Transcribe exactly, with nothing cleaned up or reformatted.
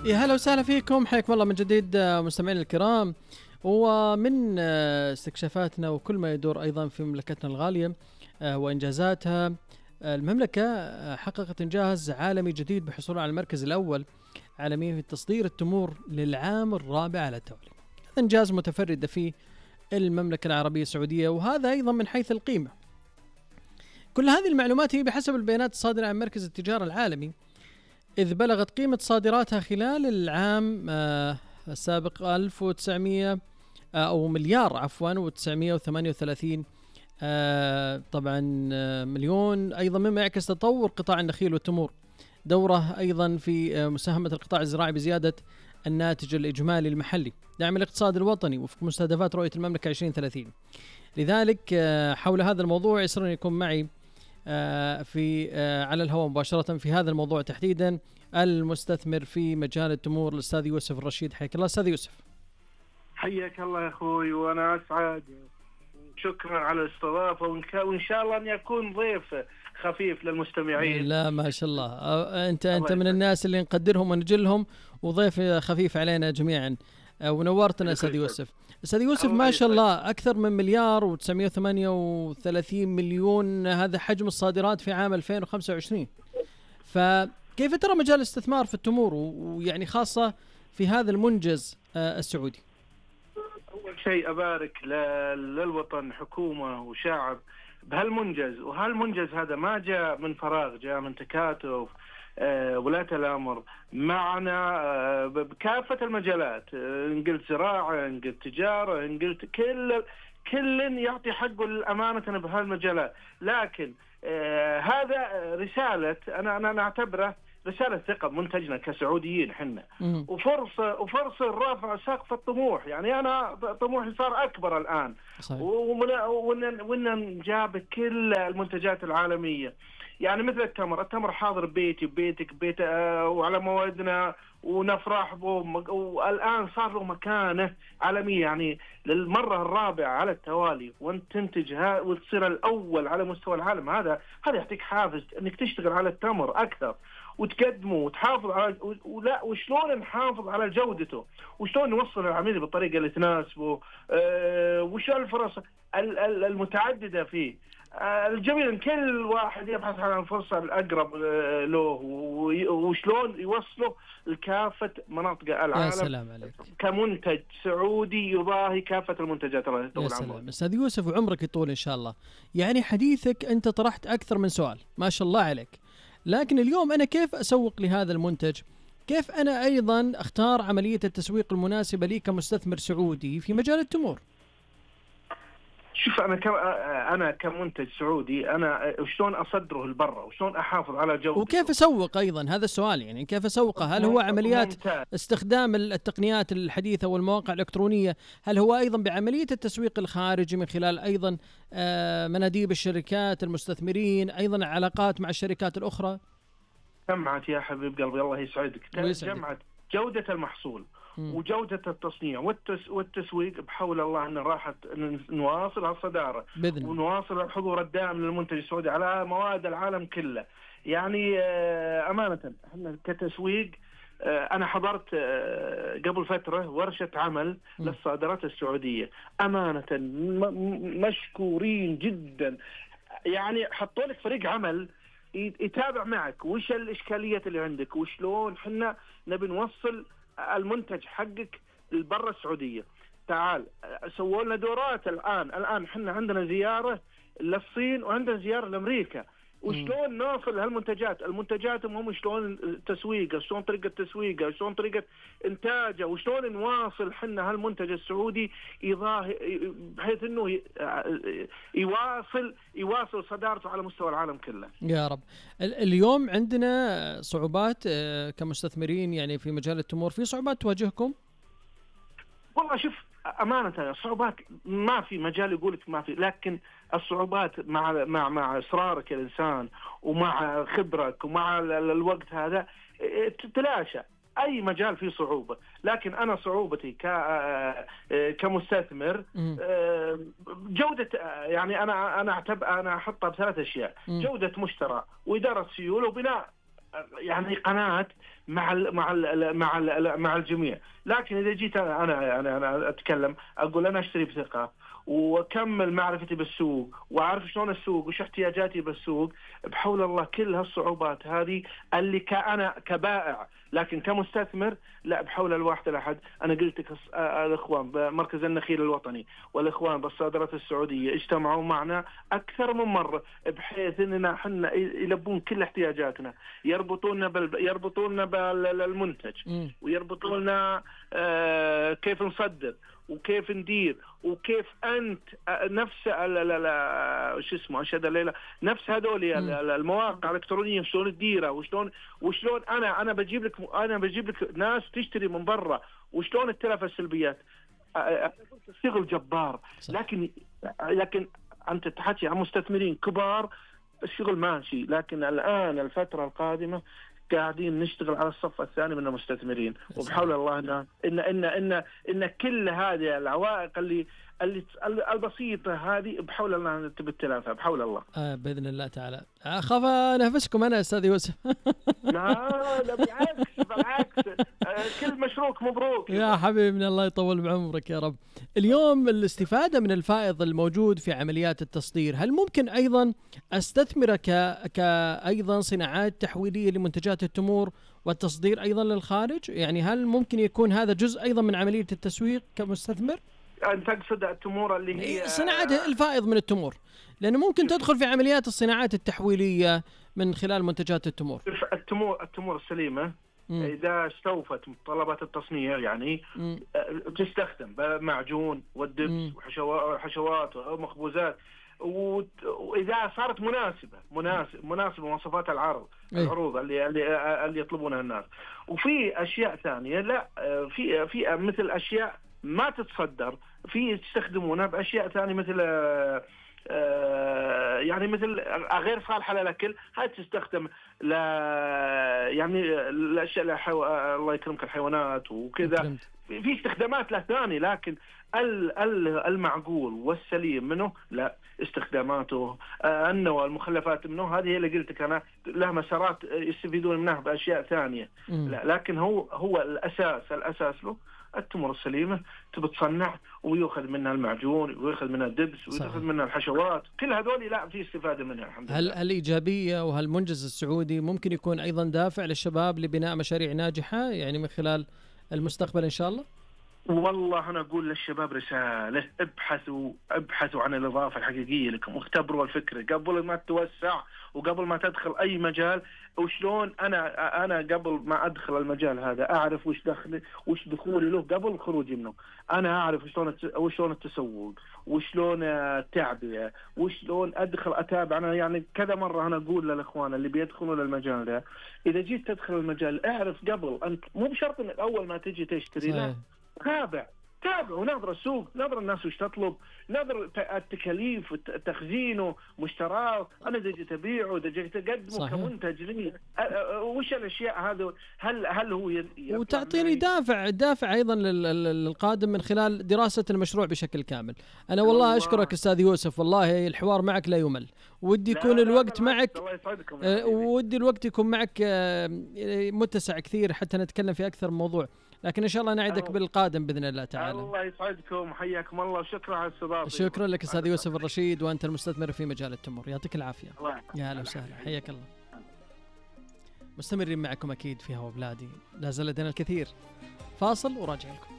يا هلا وسهلا فيكم، حياكم الله من جديد مستمعين الكرام. ومن استكشافاتنا وكل ما يدور أيضا في مملكتنا الغالية وإنجازاتها، المملكة حققت إنجاز عالمي جديد بحصولها على المركز الأول عالميا في تصدير التمور للعام الرابع على التوالي. إنجاز متفرد فيه المملكة العربية السعودية، وهذا أيضا من حيث القيمة. كل هذه المعلومات هي بحسب البيانات الصادرة عن مركز التجارة العالمي، إذ بلغت قيمة صادراتها خلال العام آه السابق ألف وتسعمائة آه أو مليار عفوا وتسعمائة وثمانية وثلاثين آه طبعا آه مليون، أيضا مما يعكس تطور قطاع النخيل والتمور، دوره أيضا في آه مساهمة القطاع الزراعي بزيادة الناتج الإجمالي المحلي، دعم الاقتصاد الوطني وفق مستهدفات رؤية المملكة عشرين ثلاثين. لذلك آه حول هذا الموضوع يسرني يكون معي آه في آه على الهواء مباشرة في هذا الموضوع تحديدا المستثمر في مجال التمور الأستاذ يوسف الرشيد. حياك الله أستاذ يوسف. حياك الله يا أخوي، وأنا أسعد، شكرا على الاستضافة، وإن شاء الله أن يكون ضيف خفيف للمستمعين. لا ما شاء الله، أنت أنت من الناس اللي نقدرهم ونجلهم، وضيف خفيف علينا جميعا، ونورتنا أستاذ يوسف. أستاذ يوسف ما شاء الله أكثر من مليار وتسعمائة وثمانية وثلاثين مليون، هذا حجم الصادرات في عام ألفين وخمسة وعشرين. فكيف ترى مجال الاستثمار في التمور، ويعني خاصة في هذا المنجز السعودي؟ أول شيء أبارك للوطن، حكومة وشعب بهالمنجز، وهالمنجز هذا ما جاء من فراغ، جاء من تكاتف أه ولاة الأمر معنا أه بكافة المجالات، إن قلت زراعة، إن قلت تجارة، إن قلت كل كل يعطي حقه الأمانة بهالمجالات. لكن أه هذا رسالة، أنا أنا نعتبره رسالة ثقة منتجنا كسعوديين حنا، وفرصة وفرصة رفع سقف الطموح. يعني أنا طموحي صار أكبر الآن، وإن جاب كل المنتجات العالمية، يعني مثل التمر. التمر حاضر ببيتي وبيتك بيت آه وعلى موادنا ونفرح به، والآن صار له مكانة عالمية، يعني للمرة الرابعة على التوالي وانت تنتجها وتصير الأول على مستوى العالم. هذا هذا يعطيك حافز انك تشتغل على التمر أكثر وتقدمه وتحافظ على، ولا وشلون نحافظ على جودته، وشلون نوصل العميل بالطريقة اللي تناسبه، أه وش الفرص المتعددة فيه. أه الجميل ان كل واحد يبحث عن الفرصة الأقرب له، وشلون يوصله لكافة مناطق العالم. يا سلام عليك، كمنتج سعودي يضاهي كافة المنتجات. الله يطول عمرك. يا سلام أستاذ يوسف، وعمرك يطول إن شاء الله. يعني حديثك أنت طرحت أكثر من سؤال، ما شاء الله عليك. لكن اليوم أنا كيف أسوق لهذا المنتج؟ كيف أنا أيضا أختار عملية التسويق المناسبة لي كمستثمر سعودي في مجال التمور؟ شوف، أنا ك أنا كمنتج سعودي، أنا شلون أصدره لبرا، وشلون أحافظ على جودته، وكيف أسوق أيضا؟ هذا السؤال، يعني كيف أسوقه؟ هل هو عمليات ممتاز. استخدام التقنيات الحديثة والمواقع الإلكترونية؟ هل هو أيضا بعملية التسويق الخارجي من خلال أيضا مناديب الشركات، المستثمرين، أيضا علاقات مع الشركات الأخرى؟ جمعت يا حبيب قلبي، الله يسعدك. جمعت جودة المحصول وجودة التصنيع والتس والتسويق، بحول الله أن راحت نواصل الصدارة ونواصل الحضور الدائم للمنتج السعودي على مواد العالم كله. يعني أمانة احنا كتسويق، أنا حضرت قبل فترة ورشة عمل للصادرات السعودية، أمانة مشكورين جدا. يعني حطوا لك فريق عمل يتابع معك وش الإشكالية اللي عندك، وشلون حنا نبي نوصل المنتج حقك لبرا السعودية. تعال سووا لنا دورات الآن الآن حنا عندنا زيارة للصين وعندنا زيارة لأمريكا، وشلون نوصل هالمنتجات المنتجات هم شلون تسويقها، شلون طريقة تسويقها، شلون طريقة إنتاجها، وشلون نواصل حنا هالمنتج السعودي يضاهي بحيث إنه يواصل يواصل صدارته على مستوى العالم كله. يا رب. اليوم عندنا صعوبات كمستثمرين يعني في مجال التمور، في صعوبات تواجهكم؟ والله شوف، أمانة صعوبات ما في مجال يقولك ما في، لكن الصعوبات مع مع مع إصرارك الإنسان ومع خبرك ومع الوقت هذا تتلاشى. أي مجال فيه صعوبة، لكن أنا صعوبتي ك كمستثمر جودة. يعني أنا أنا أعتبر أنا أحطها بثلاث أشياء: جودة مشترى، وإدارة سيولة، وبناء يعني قناة مع ال مع ال مع ال مع الجميع. لكن اذا جيت انا انا انا, أنا اتكلم اقول انا اشتري بثقه واكمل معرفتي بالسوق واعرف شلون السوق وش احتياجاتي بالسوق، بحول الله كل هالصعوبات هذه اللي كأنا كبائع، لكن كمستثمر لا، بحول الواحد الاحد. انا قلت لك الاخوان بمركز النخيل الوطني والاخوان بالصادرات السعوديه اجتمعوا معنا اكثر من مره بحيث اننا احنا يلبون كل احتياجاتنا، يربطونا بال يربطونا بالمنتج ويربطونا آه كيف نصدر وكيف ندير وكيف انت نفس شو اسمه اشهد الليله نفس هذول المواقع الالكترونيه شلون تديرها وشلون وشلون انا انا بجيب لك انا بجيب لك ناس تشتري من برا وشلون التلف السلبيات. الشغل جبار، لكن لكن انت تحكي عن مستثمرين كبار الشغل ماشي، لكن الان الفتره القادمه قاعدين نشتغل على الصف الثاني من المستثمرين، وبحول الله ان ان ان ان, إن كل هذه العوائق اللي اللي البسيطه هذه بحول الله تبي تلافها بحول الله. آه باذن الله تعالى. اخاف انافسكم انا استاذ يوسف. لا لا بالعكس بالعكس، آه كل مشروعك مبروك يا حبيبنا، الله يطول بعمرك يا رب. اليوم الاستفاده من الفائض الموجود في عمليات التصدير، هل ممكن ايضا استثمر ك كايضا صناعات تحويليه لمنتجات التمور والتصدير ايضا للخارج؟ يعني هل ممكن يكون هذا جزء ايضا من عمليه التسويق كمستثمر؟ أنت تقصد التمور اللي هي صناعة الفائض من التمور، لأنه ممكن تدخل في عمليات الصناعات التحويلية من خلال منتجات التمور. التمور التمور السليمة مم. إذا استوفت متطلبات التصنيع يعني مم. تستخدم معجون والدبس وحشوات ومخبوزات، وإذا صارت مناسبة مناسب مناسبة مواصفات العرض أيه. العروض اللي اللي اللي يطلبونها الناس. وفي أشياء ثانية لا، في في مثل أشياء ما تتصدر في تستخدمونها باشياء ثانيه مثل آه يعني مثل غير صالحه للاكل، هاي تستخدم ل يعني الاشياء لحو... الله يكرمك الحيوانات وكذا، في استخدامات له ثانيه، لكن المعقول والسليم منه لا، استخداماته آه النوى المخلفات منه هذه هي اللي قلت انا له مسارات يستفيدون منها باشياء ثانيه. لا لكن هو هو الاساس الاساس له التمور السليمة تبي تصنع ويأخذ منها المعجون ويأخذ منها الدبس ويأخذ منها الحشوات، كل هذول لا في استفادة منها الحمد لله. هل الإيجابية وهالمنجز السعودي ممكن يكون أيضا دافع للشباب لبناء مشاريع ناجحة يعني من خلال المستقبل إن شاء الله؟ والله أنا أقول للشباب رسالة، ابحثوا ابحثوا عن الإضافة الحقيقية لكم واختبروا الفكرة قبل ما تتوسع وقبل ما تدخل أي مجال. وشلون أنا أنا قبل ما أدخل المجال هذا أعرف وش دخل وش دخولي له قبل خروجي منه، أنا أعرف وشلون وشلون التسوق وشلون التعبئة وشلون أدخل أتابع. أنا يعني كذا مرة أنا أقول للإخوان اللي بيدخلون المجال ده، إذا جيت تدخل المجال أعرف قبل، أنت مو بشرط إنك أول ما تجي تشتري، لا تابع تابع ونظر السوق، نظر الناس وش تطلب، نظر التكاليف تخزينه مشتراه، انا اذا جيت ابيعه اذا جيت اقدمه كمنتج لي وش الاشياء هذه، هل هل هو وتعطيني دافع دافع ايضا للقادم من خلال دراسه المشروع بشكل كامل. انا والله الله. اشكرك استاذ يوسف، والله الحوار معك لا يمل، ودي يكون الوقت معك ودي الوقت يكون معك متسع كثير حتى نتكلم في اكثر من موضوع، لكن إن شاء الله نعدك بالقادم بإذن الله تعالى. الله يسعدكم وحياكم الله وشكرا على الاستضافة. شكرا لك أستاذ يوسف الرشيد، وأنت المستثمر في مجال التمور، يعطيك العافية. يا أهلا وسهلا، حياك الله. مستمرين معكم أكيد في هوا بلادي، لا زال لدينا الكثير. فاصل وراجع لكم.